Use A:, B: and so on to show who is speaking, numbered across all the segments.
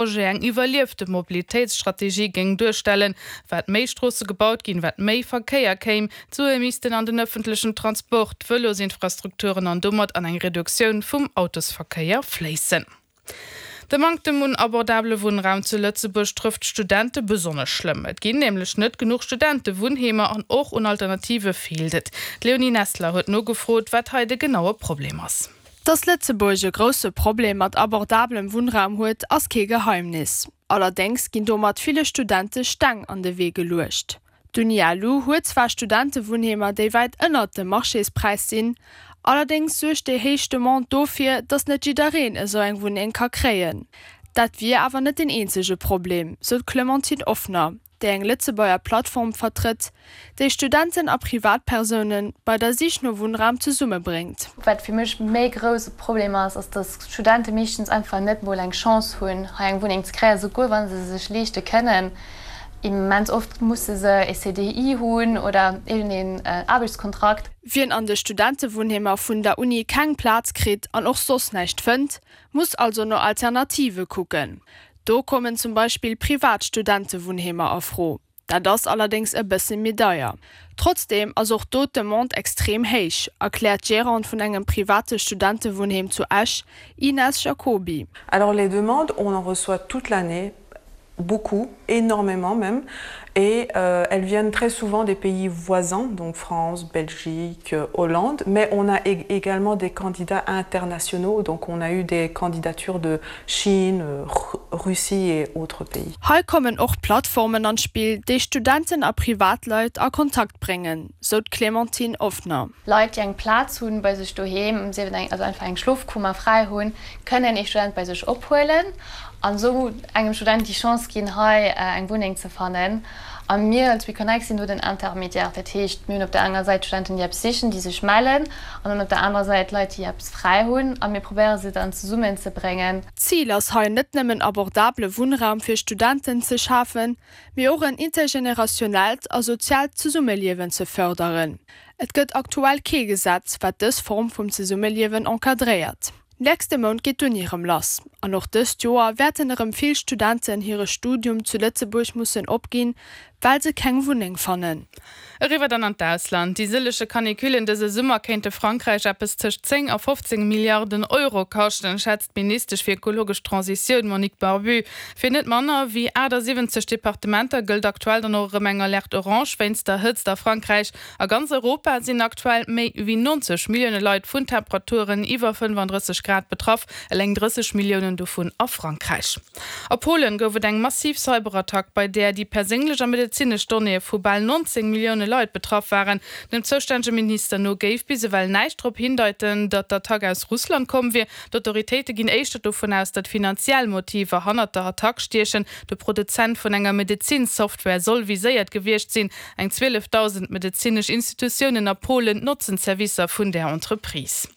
A: Projet eng iwwerliefte Mobilitéitsstrategie géing duerstellen. Wat méi Stroosse gebaut ginn, wat méi Verkéier kéim. D'Sue missten an den ëffentlechen Transport, d'Vëlosinfrastrukturen an domat an eng Reduktioun vum Autosverkéier fléissen. De Manktem un abordabele Wunnraum zu Lëtzebuerg trëfft d'Studente besonnesch schlëmm. Et ginn nämlech net genuch Studentewunnheemer an och un Alternative feelt et. D'Léonie Nessler huet nogefrot, wat hei de genaue Problem ass.
B: Dass Lëtzebuerg e grousse Problem mat abordablem Wunnraum huet, ass kee Geheimnis. Allerdéngs ginn domat ville Studente Steng an de Wee geluecht. D'Uni LU huet zwar Studentewunnheemer, déi wäit ënnert dem Marchéspräis sinn, allerdéngs suergt déi héich Demande dofir, dass net jiddereen esou eng Wunneng ka kréien. Dat wier awer net deen eenzege Problem, sou d'Clementine Offner. déi eng Lëtzebuerger Plattform vertrëtt, déi Studenten a Privatpersoune bei der Sich no Wunnraum zesummebréngt.
C: Wat fir mech méi grousse Problem ass, ass dass Studente meeschtens einfach net mol eng Chance hunn hei eng Wunneng ze kréien, souguer wa se sech leeschte kënnen. Immens oft musse se e CDI hunn oder iergendeen Aarbechtskontrakt.
B: Wien an de Studentewunnheemer vun der Uni keng Plaz kritt an och soss näischt fënnt, muss also no Alternative kucken. Do kommen zum Beispill privat Studentewunnheemer a Fro. Dat ass allerdéngs e bësse méi deier. Trotzdeem ass och do d'Demande extrem héich, erkläert d'Gérante vun engem private Studentewunnheem zu Esch, Ines Jacoby.
D: Alors les demandes, on en reçoit toute l'année, beaucoup, énormément même, et euh, elles viennent très souvent des pays voisins, donc France, Belgique, Hollande, mais on a également des candidats internationaux, donc on a eu des candidatures de Chine, Russie et autres pays.
B: Hei kommen och Plattformen an d'Spill, déi Studenten a Privatleit a Kontakt bréngen, sou d'Clémentine Offner.
C: Leit, déi eng Plaz hunn bei sech doheem, sief et eng, also einfach eng Schlofkummer fräi hunn, kënnen ee Student bei sech ophuelen an esou engem Student déi Chance ginn, hei eng Wunneng ze fannen. A mir als WeConnect sinn do den Intermédiaire. Dat heescht, mir hunn op der enger Säit Studenten, déi eppes sichen, déi sech mellen, an dann op der anerer Säit Leit, déi eppes fräi hunn, a mir probéiere se dann zesummenzebréngen.
B: Zil ass hei net nëmmen abordabele Wunnraum fir Studenten ze schafen, mee och en intergenerationellt a soziaalt Zesummeliewen ze fërderen. Et gëtt aktuell kee Gesetz, wat dës Form vum Zesummeliewen encadréiert. Nächste Mount geet d'Uni erëm lass an och dëst Joer wäerten erëm vill Studenten hire Studium zu Lëtzebuerg mussen opginn, well se keng Wunneng fannen.
A: Eriwwer dann an d'Ausland. Déi sëllege Canicullen dëse Summer kéinte Frankräich eppes tëscht 10 a 15 Milliarden Euro kaschten, schätzt d'Ministesch fir ekologesch Transitioun Monique Barbut. Fir net manner wéi 78 Departementer gëllt aktuell dann och erëm eng Alerte orange wéinst der Hëtzt a Frankräich. A ganz Europa sinn aktuell méi wéi 90 Millioune Leit vun Temperaturen iwwer 35 Grad betraff, eleng 30 Milliounen dovun a Frankräich. A Polen gouf et eng massiv Cyberattack, bei där déi perséinlech a medezinesch Donnéeë vu bal 19 Millioune Leit betraff waren. Dem zoustännege Minister no géif bis ewell näischt drop hindeiten, datt d'Attack aus Russland komm wier. D'Autoritéite ginn éischter dovun aus, datt finanziell Motiver hannert der Attack stiechen. De Produzent vun enger Medezin-Software soll viséiert gewiescht sinn. Eng 12.000 medezinesch Institutiounen a Polen notzen d'Servicer vun där Entreprise.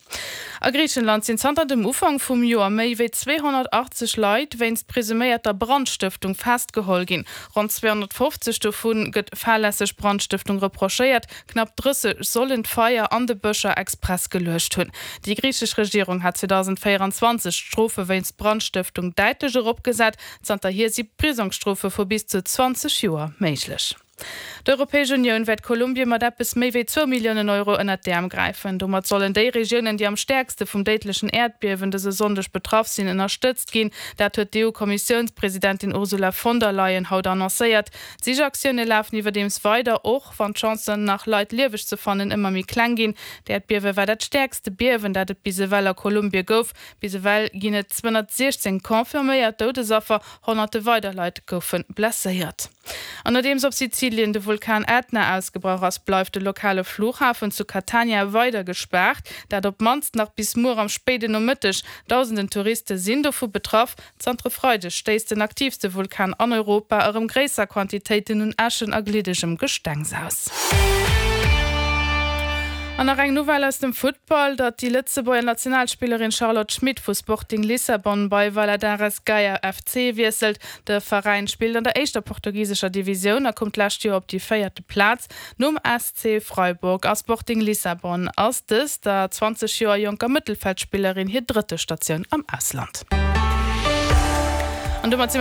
A: A Griichenland sinn zanter dem Ufank vum Joer méi wéi 280 Leit wéinst presuméierter Brandstëftung festgeholl ginn. Ronn 250 dovu gëtt fahrlässeg Brandstëftung reprochéiert, knapp 30 sollen d'Feier an de Bëscher express geluecht hunn. Déi griichesch Regierung hat 2024 d'Strofe wéinst Brandstëftung däitlech eropgesat. Zanterhier si Prisongsstrofe vu bis zu 20 Joer méiglech. D'Europäesch Unioun wäert Kolumbien mat eppes méi wéi zwou Milliounen Euro ënnert d'Äerm gräifen. Domat sollen déi Regiounen, déi am stäerkste vum déidlechen Äerdbiewen dëse Sonndeg betraff sinn, ënnerstëtzt ginn. Dat huet d'EU-Kommissiounspresidentin Ursula von der Leyen haut annoncéiert. D'Sichaktioune lafen iwwerdeems weider, och wann d'Chancen, nach Leit lieweg ze fannen, ëmmer méi kleng ginn. D'Äerdbiewe war dat stäerkste Biewen, dat et bis ewell a Kolumbie gouf. Bis ewell ginn et 216 confirméiert Doudesaffer, honnerte weider Leit goufe blesséiert. An nodeems op Sizilien de Vulkan Ätna ausgebrach ass, bleift de lokale Flughafen zu Catania weider gespaart. Dat op d'mannst nach bis muer am spéiden Nomëtteg. Dausenden Touriste sinn dovu betraff. Zanter e Freideg stéisst den aktiivste Vulkan an Europa erëm gréisser Quantitéiten un Äschen a gliddegem Gestengs aus. An nach eng Nouvelle aus dem Futtball, datt déi Lëtzebuerger Nationalspillerin Charlotte Schmit vu Sporting Lissabon bei Valadares Gaia FC wiesselt. De Veräin spillt an der éischter portugisescher Divisioun a koum d'lescht Joer op déi véierte Plaz. Nom SC Freiburg a Sporting Lissabon ass dës der 20 Joer jonker Mëttelfeldspillerin hir drëtte Statioun am Ausland.